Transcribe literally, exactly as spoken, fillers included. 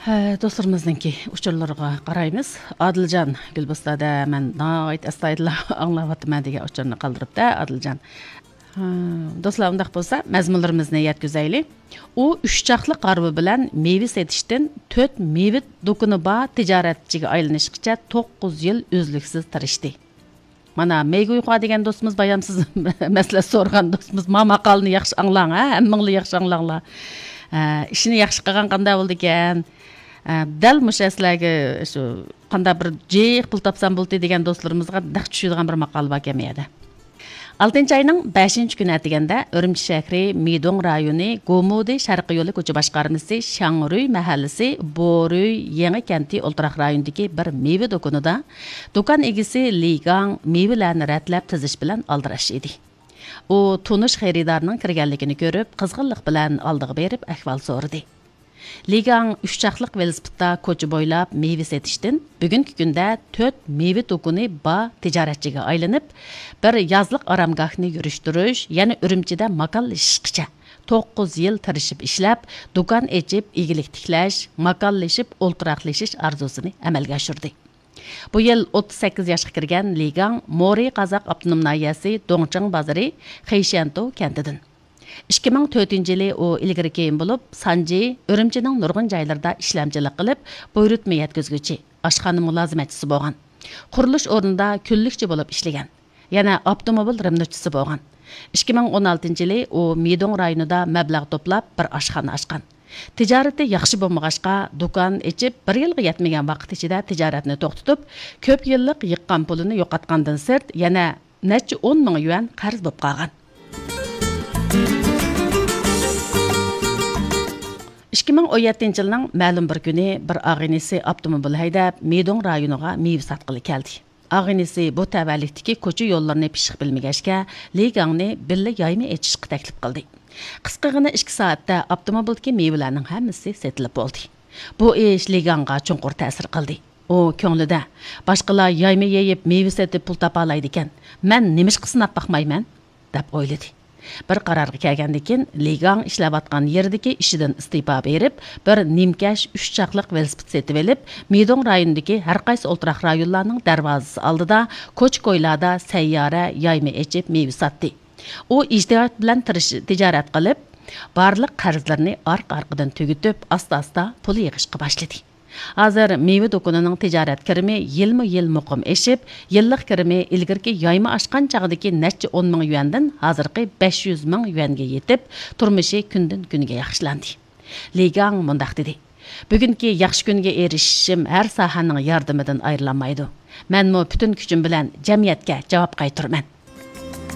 ئە، دوستلىرىمىزنىڭكى ئۇچۇرلىرىغا قارايمىز. ئادىلجان گۈلبۇستاندا مەن ناھايىتى ئەستايىدىللا ئاڭلاۋاتىمەن دېگەن ئۇچۇرنى قالدۇرۇپتۇ، ئادىلجان. ھە، دوستلار، ئۇنداق بولسا مەزمۇنلىرىمىزنى يەتكۈزەيلى. ئۇ ئۈچ چاقلىق ھارۋا بىلەن مېۋە سېتىشتىن تۆت مېۋە دۇكىنى بار تىجارەتچىگە ئايلىنىشقىچە توققۇز يىل ئۈزلۈكسىز تىرىشتى. مانا، مېيگۇيخۇا دېگەن دوستىمىز، بايام سىز مەسلىھەت سورىغان دوستىمىز، ما ماقالىنى ياخشى ئاڭلاڭ، ھە، ھەممىڭلار ياخشى ئاڭلاڭلار. ھە، ئىشىنى ياخشى قىلغان قانداق بولىدىكەن؟ ھە، دەل مۇشۇ سىلەرگە شۇ قانداق بىر جىق پۇل تاپسام بولدى دېگەن دوستلىرىمىزغا نەق چۈشىدىغان بىر ماقالە باركەن بۇ يەردە. ئالتىنچى ئاينىڭ بەشىنچى كۈنى ئەتىگەندە ئۈرۈمچى شەھىرى مىدوڭ رايونى گومۇدى شەرقىي يولى كوچا باشقارمىسى شاڭرۈي مەھەللىسى بورۈي يېڭى كەنتى ئولتۇراق رايونىدىكى بىر مېۋە دۇكىنىدا دۇكان ئىگىسى لى گاڭ مېۋىلەرنى رەتلەپ تىزىش بىلەن ئالدىراش ئىدى. ئۇ تونۇش خېرىدارنىڭ كىرگەنلىكىنى كۆرۈپ، قىزغىنلىق بىلەن ئالدىغا بېرىپ ئەھۋال سورىدى. لى گاڭ ئۈچ چاقلىق ۋېلىسىپىتتا كوچا بويلاپ مېۋە سېتىشتىن بۈگۈنكى كۈندە تۆت مېۋە دۇكىنى بار تىجارەتچىگە ئايلىنىپ، بىر يازلىق ئارامگاھنى يۈرۈشتۈرۈش، يەنە ئۈرۈمچىدە ماكانلىشىشقىچە توققۇز يىل تىرىشىپ ئىشلەپ، دۇكان ئېچىپ، ئىگىلىك تىكلەش، ماكانلىشىپ ئولتۇراقلىشىش ئارزۇسىنى ئەمەلگە ئاشۇردى. بۇ يىل ئوتتۇز سەككىز ياشقا كىرگەن لى گاڭ مورى قازاق ئاپتونوم ناھىيەسى دوڭچىڭ بازىرى خېيشيەنتۇ كەنتىدىن. ئىككى مىڭ تۆتىنچى يىلى ئۇ ئىلگىرى كېيىن بولۇپ، سانجى، ئۈرۈمچىنىڭ نۇرغۇن جايلىرىدا ئىشلەمچىلىك قىلىپ، بۇيرۇتما يەتكۈزگۈچى، ئاشخانا مۇلازىمەتچىسى بولغان. قۇرۇلۇش ئورنىدا كۈنلۈكچى بولۇپ ئىشلىگەن. يەنە ئاپتوموبىل رېمونتچىسى بولغان. ئىككى مىڭ ئون ئالتىنچى يىلى ئۇ مىدوڭ رايونىدا مەبلەغ توپلاپ، بىر ئاشخانا ئاچقان. تىجارىتى ياخشى بولمىغاچقا، دۇكان ئېچىپ، بىر يىلغا يەتمىگەن ۋاقىت ئىچىدە تىجارەتنى توختىتىپ، كۆپ يىللىق يىغقان پۇلىنى يوقاتقاندىن سىرت، يەنە نەچچە ئون مىڭ يۈەن قەرز بولۇپ قالغان. ئىككى مىڭ ئون يەتتىنچى يىلنىڭ مەلۇم بىر كۈنى بىر ئاغىنىسى ئاپتوموبىل ھەيدەپ، مىدوڭ رايونىغا مېۋە ساتقىلى كەلدى. ئاغىنىسى بۇ تەۋەلىكتىكى كوچا يوللىرىنى پىششىق بىلمىگەچكە، لى گاڭنى بىللە يايما ئېچىشقا تەكلىپ قىلدى. قىسقىغىنە ئىككى سائەتتە ئاپتوموبىلدىكى مېۋىلەرنىڭ ھەممىسى سېتىلىپ بولدى. بۇ ئىش لى گاڭغا چوڭقۇر تەسىر قىلدى. ئۇ كۆڭلىدە، «باشقىلار يايما يېيىپ، مېۋە سېتىپ پۇل تاپالايدىكەن، مەن نېمىشقا سىناپ باقمايمەن؟» دەپ ئويلىدى. بىر قارارغا كەلگەندىن كېيىن، لى گاڭ ئىشلەۋاتقان يېرىدىكى ئىشىدىن ئىستېپا بېرىپ، بىر نىمكەش ئۈچ چاقلىق ۋېلىسىپىت سېتىۋېلىپ، مىدوڭ رايونىدىكى ھەر قايسى ئولتۇراق رايونلارنىڭ دەرۋازىسى ئالدىدا، كوچا-كويلاردا سەييارە يايما ئېچىپ مېۋە ساتتى. ئۇ ئىجتىھات بىلەن تىرىش-، تىجارەت قىلىپ، بارلىق قەرزلىرىنى ئارقا-ئارقىدىن تۈگىتىپ، ئاستا-ئاستا پۇل يىغىشقا باشلىدى. ھازىر مېۋە دۇكىنىنىڭ تىجارەت كىرىمى يىلمۇ-يىل مۇقىم ئېشىپ، يىللىق كىرىمى ئىلگىرىكى يايما ئاچقان چاغدىكى نەچچە ئون مىڭ يۈەندىن ھازىرقى بەش يۈز مىڭ يۈەنگە يېتىپ، تۇرمۇشى كۈندىن-كۈنگە ياخشىلاندى. لى گاڭ مۇنداق دېدى: «بۈگۈنكى ياخشى كۈنگە ئېرىشىشىم ھەر ساھەنىڭ ياردىمىدىن ئايرىلالمايدۇ. مەنمۇ پۈتۈن كۈچۈم بىلەن جەمئىيەتكە جاۋاب قايتۇرىمەن.»